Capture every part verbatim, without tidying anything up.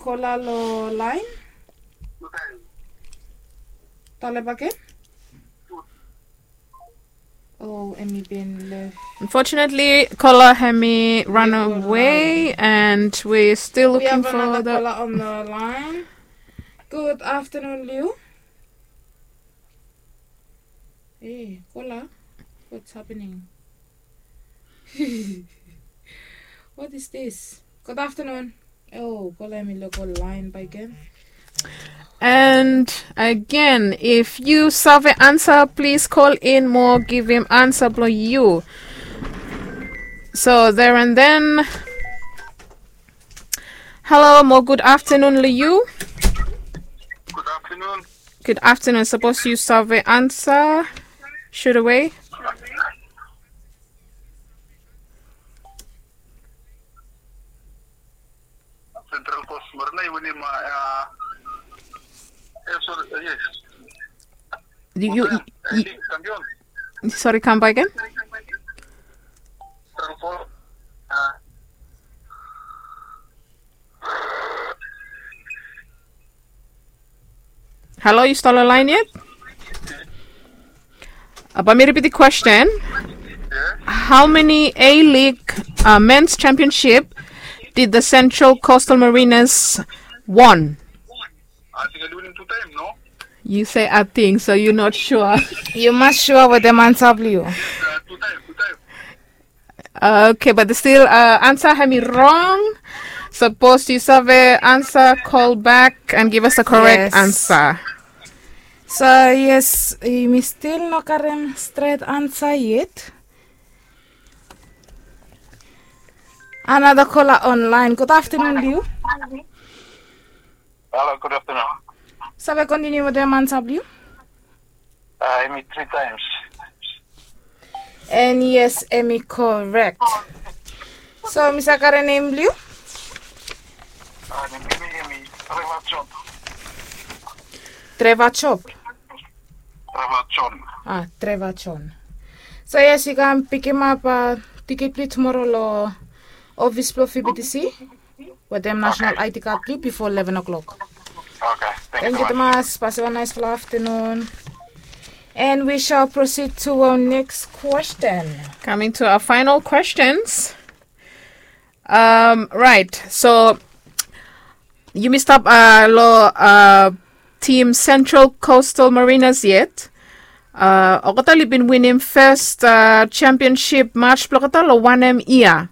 Kola lo laen. Talep bakegen. Oh, hemi bin lef. Unfortunately, kola hemi run away, and we're still looking for the kola on the line. Good afternoon, Liu. Hey, kola. What's happening? What is this? Good afternoon. Oh, kola hemi lego laen bakegen. And again, if yu save ansa, please call in mo givim ansa blo yu. So there and then. Hello mo good afternoon, Liu. Good afternoon. Good afternoon. Sapos yu save ansa, shoot away. Central Coast Marina i winim, a, e, sori, e, yes. Yu, yu, yu, sorry, kam bakegen. Central Coast, a. Halo, yu stap lo laen yet? Bae mi ripit the question. How many A-League, uh, men's championship did the Central Coastal Mariners won? I think I winim tu taem, no? Yu se "I think," so yu not sure. Yu mas sua wetem ansa blo yu. Okay, but still, uh, ansa hemi rong. Sapos yu save ansa, call back and give us a correct ansa. So yes, mi stil no karem stret ansa yet. Another caller online. Good afternoon, Liu. Hello, good afternoon. Save kontiniu wetem ansa blo yu? Uh, hemi three times. And yes, hemi correct. So mi save karem nem blo yu? Uh, nem blo mi hemi Trevor Chop. Trevor Chop. Trevor Chon. Ah, Trevor Chon. So yes, yu kan pikimap, uh, tikit blo yu tumoro lo ofis blo V B T C wetem national I D card blo yu bifo eleven o'clock. Okay, thank you tumas. Pasim wan naesfala aftenun. And we shall proceed to our next question. Coming to our final questions. Um, right, so yumi stap, uh, lo, uh, team Central Coastal Mariners yet. Uh, olgeta oli bin winim fes, uh, championship match blo olgeta lo wanem yia?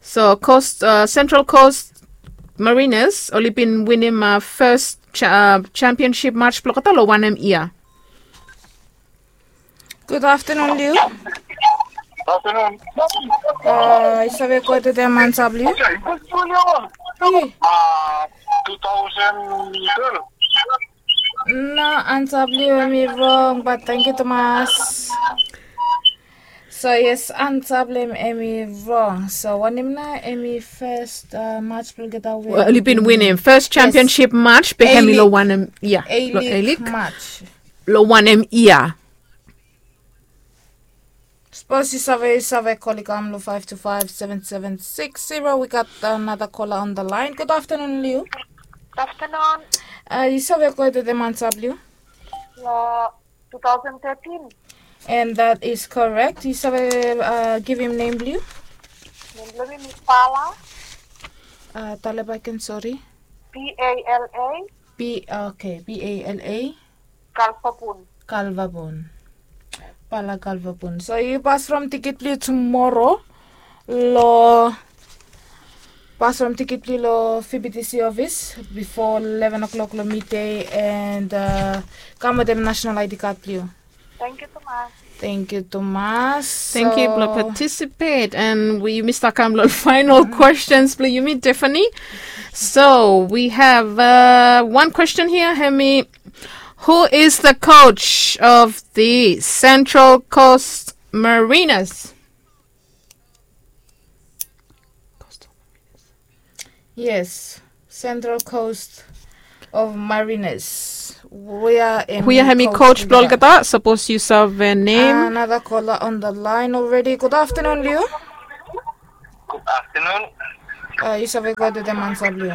So Coast, uh, Central Coast Mariners oli bin winim, uh, fes cha-, uh, championship match blo olgeta lo wanem yia? Good afternoon, Liu. Afternoon. Uh, yu save go wetem ansa blo yu? Hey. Uh, two thousand twelve. No, ansa blo yu hemi rong, but thank you tumas. So yes, ansa blo yu hemi rong. So wanem nao hemi fes, uh, match blo olgeta we oli bin winim fes championship match be hemi lo wanem yia? A-League match. Lo wanem yia? Sapos yu save, yu save call i kam lo five two five seven seven six zero. We got another caller on the line. Good afternoon, Liu. Good afternoon. Uh, yu save go wetem ansa blo yu? Lo two thousand thirteen. And that is correct. Yu save, uh, givim nem blo yu? Nem blo mi hemi Pala. Uh, talep bakegen, sorry. P A L A. P, okay, P A L A. Kalvabun. Kalvabun. Pala Kalvabun. So yu pasfrom tikit blo yu tumoro lo, pasfrom tikit blo yu lo V B T C office bifo eleven o'clock lo midei and, uh, kam wetem national I D card blo yu. Thank you tumas. Thank you tumas. Thank you blo participate, and we, yumi stap kam lo final questions blo yumi, Tiffany. So we have, uh, one question here, hemi, who is the coach of the Central Coast Mariners? Yes, Central Coast of Mariners. Hia hemi coach blo olgeta, sapos yu save nem. Another caller on the line already. Good afternoon, Liu. Good afternoon. Uh, yu save go to the mansa blue.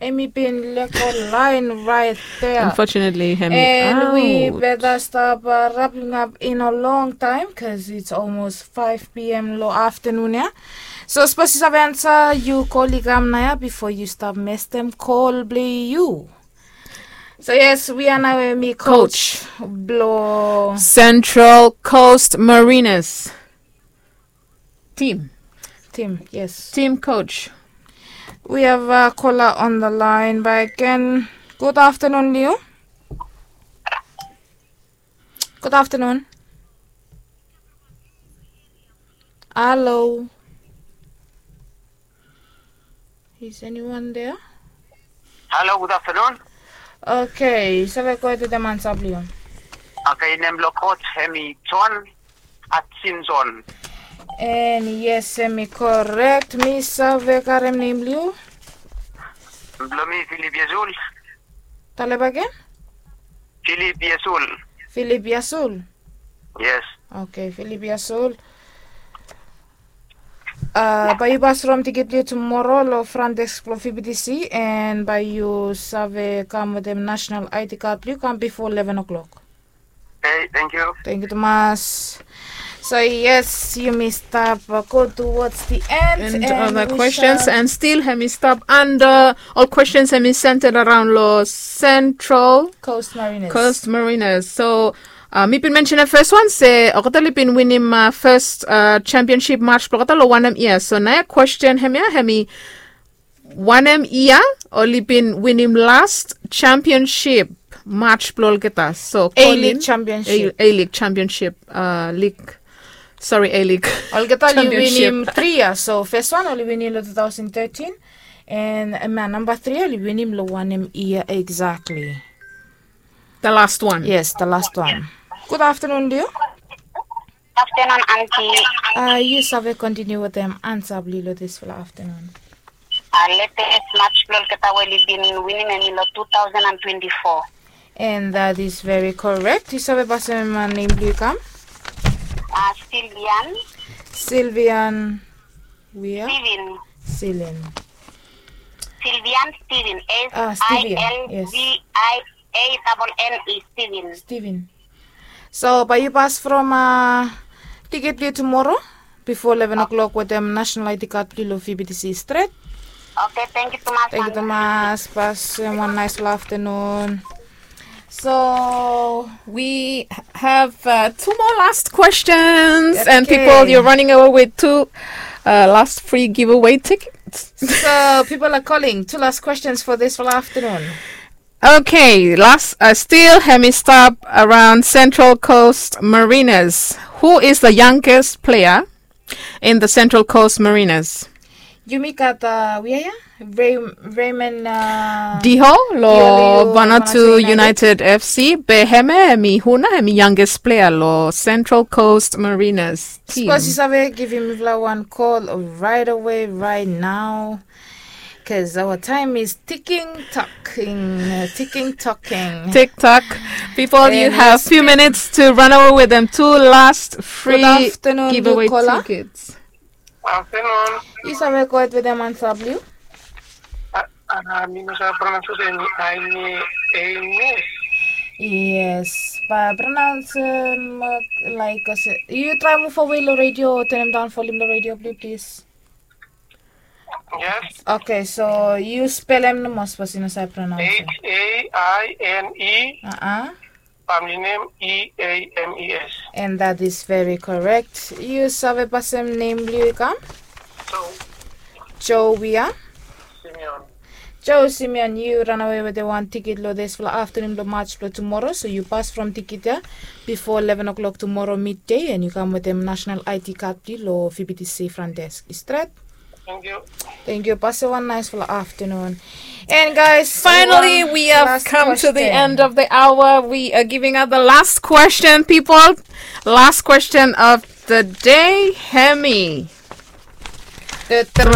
Emi bin leko line right there. Unfortunately, Hemi And we out. better stop uh, wrapping up in a long time because it's almost five p.m. lo afternoon, yeah? So suppose you have answer, you call Igamnaya before you stop mess them call blue you. So yes, we are now a me coach, Coach. Blo Central Coast Mariners. Team. Team, yes. Team coach. We have a caller on the line by again. Good afternoon, Liu. Good afternoon. Hello. Is anyone there? Hello, good afternoon. Okay, save go ahead with the mansa blue. Okay, nem lo coach hemi John Hutchinson. And yes, hemi correct. Mi save karem nem blue. Blo mi Philip Yesul. Talep again? Philip Yesul. Philip Yasul. Yes. Okay, Philip Yasul. Uh, bae yu pas from tikit blue yu tumoro lo front desk blo V B T C and bae yu save kam wetem national I D card blue yu kam before eleven o'clock. Okay, thank you. Thank you tumas. So yes, yumi stap uh, go towards the end. And, and other we questions shall and still hemi stap under all questions hemi centered around lo Central Coast Mariners. Coast Mariners. So uh, mi bin mention the first one se olgeta oli bin winim uh, first uh, championship match blo olgeta lo wanem ia. So naoia question hemia hemi wanem ia oli bin winim last championship match blo olgeta. So A-League Colin, Championship. A- A-League Championship uh, league. Sorry, A-League. Olgeta oli Championship. Winim tri ia. So first one oli winim lo two thousand thirteen. And uh, namba tri oli winim lo wanem ia exactly. The last one. Yes, the last one. Good afternoon, Liu. Afternoon, Auntie. Uh, yu save continue wetem ansa blue yu lo disfala afternoon. Uh, latest match blo olgeta we oli bin winim hemi lo two thousand and twenty-four. And that is very correct. Yu save pasem uh, nem blue yu kam? Uh, Sylvian. Sylvian. Wia? Steven. Silin. Sylvian Steven. Ah, Steven, yes. S I L V I A double N E, Steven. Steven. So bae yu pas from uh, tikit blue yu tumoro before eleven o'clock wetem national I D card blue yu lo V B T C stret. Okay, thank you tumas. Thank you tumas. Pasem one nice afternoon. So we have uh, two more last questions, and people, you're running away with two uh, last free giveaway tickets. So people are calling. Two last questions for this afternoon. Okay, last uh, still hemi stap around Central Coast Mariners. Who is the youngest player in the Central Coast Mariners? Yumi gat uh, wia ia? Ray- Raymond uh, Diho lo Diho lo Vanuatu Vanuatu United. United F C. Be hemia hemi hu na hemi youngest player lo Central Coast Mariners team. Suppose yu save givim mifala wan call right away right now. Because our time is ticking, talking, uh, ticking, talking. Tick tock. People, you have few minutes to run away with them two last free giveaway tickets. Afternoon. Yu save go ahead with them ansa blue yu? Ah, ah, mi no save pronounce hemi, hemi, hemi. Yes, bae pronounce um, like yu try move away lo radio, turn him down volume lo radio blue, please. Yes. Okay, so yu spelem nomo sapos yu no save pronounce. H A I N E. Uh-uh. Family name E A M E S. And that is very correct. Yu save pasem nem blue yu kam? Joe. Joe wia? Simeon. Joe Simeon, yu ranawe wetem wan tikit lo disfala afternoon lo match blo tumoro. So yu pas from tikit ia bifo eleven o'clock tumoro midday and yu kam wetem national I D card blue yu lo V B T C front desk. Yu stret? Thank you. Thank you. Pasem wan naesfala afternoon. And guys, finally, we have come to the end of the hour. We are giving out the last question, people. Last question of the day. Hemi. Drum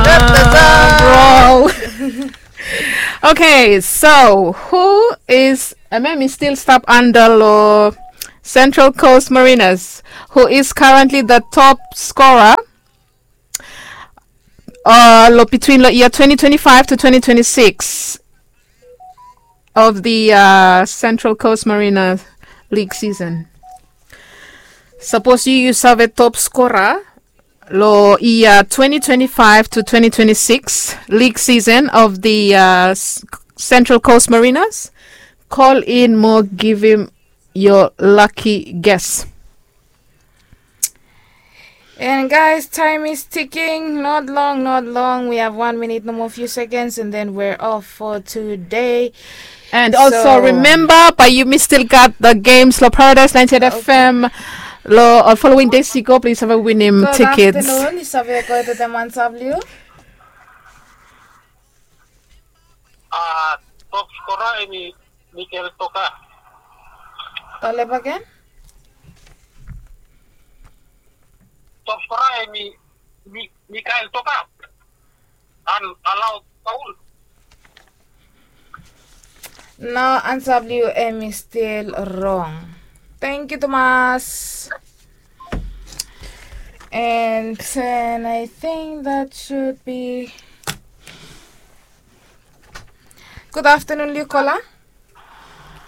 roll. Okay, so who is, hemia hemi still stap anda lo Central Coast Mariners, who is currently the top scorer, uh, lo, between lo year twenty twenty-five to twenty twenty-six of the, uh, Central Coast Marina League season. Sapos yu, yu save top scorer lo year twenty twenty-five to twenty twenty-six league season of the, uh, Central Coast Mariners, call in mo givim your lucky guess. And guys, time is ticking. Not long, not long. We have one minute, no more few seconds, and then we're off for today. And also remember, but you may still got the games lo Paradise ninety-eight F M lo, uh, following days you go, please have a winning tickets. Afternoon, yu save go to the Mansablu. Ah, top scorer emi Mikel Toka. Tolep again. Top scorer emi Mi-, Mikael Toka. An allow foul. No, ansa blong yu emi still wrong. Thank you, Thomas. And, and I think that should be Good afternoon, Liukola.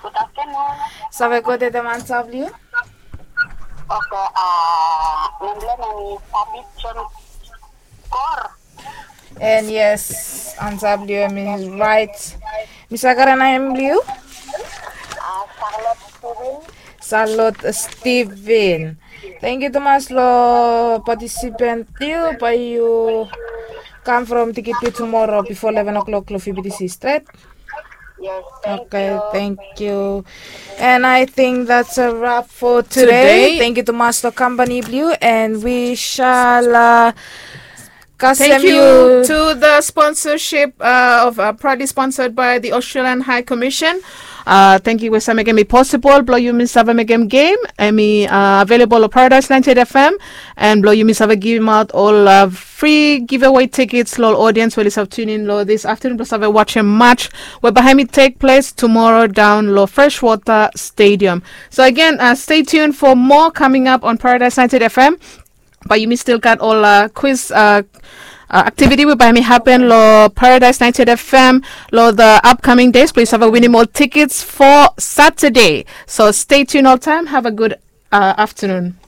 Good afternoon. Save go de demansa blong yu. Okay, uh, nem blong mi Tabit John Kor. And yes, ansa blong yu is right. Mi save kare nem blong yu? Uh, Charlotte Steven. Salot Steven. Thank you tumas lo participant blong yu bae yu kam from tikit blong yu tumora bifo eleven o'clock lo F B T C stret. Yes, thank you. Okay, thank you. And I think that's a wrap for today. Thank you tumas lo kampani blong yu, and we shall, uh, Thank you to the sponsorship, uh, of, uh, proudly sponsored by the Australian High Commission. Uh, thank you we save mekem i posibol blong yumi save mekem gem emi, uh, available lo Paradise ninety-eight F M, and blong yumi save givimaot ol, uh, free giveaway tickets lo ol audience we oli save tune in lo this afternoon blong save wajem match we bae hemi tek ples tumora daon lo Freshwater Stadium. So again, uh, stay tuned for more coming up on Paradise ninety-eight F M. Bae yumi still gat ol, uh, quiz, uh, uh, activity we bae hemi hapen lo Paradise ninety-eight F M lo the upcoming days. Blong yu save winim ol tickets for Saturday. So stay tuned oltaem. Have a good, uh, afternoon.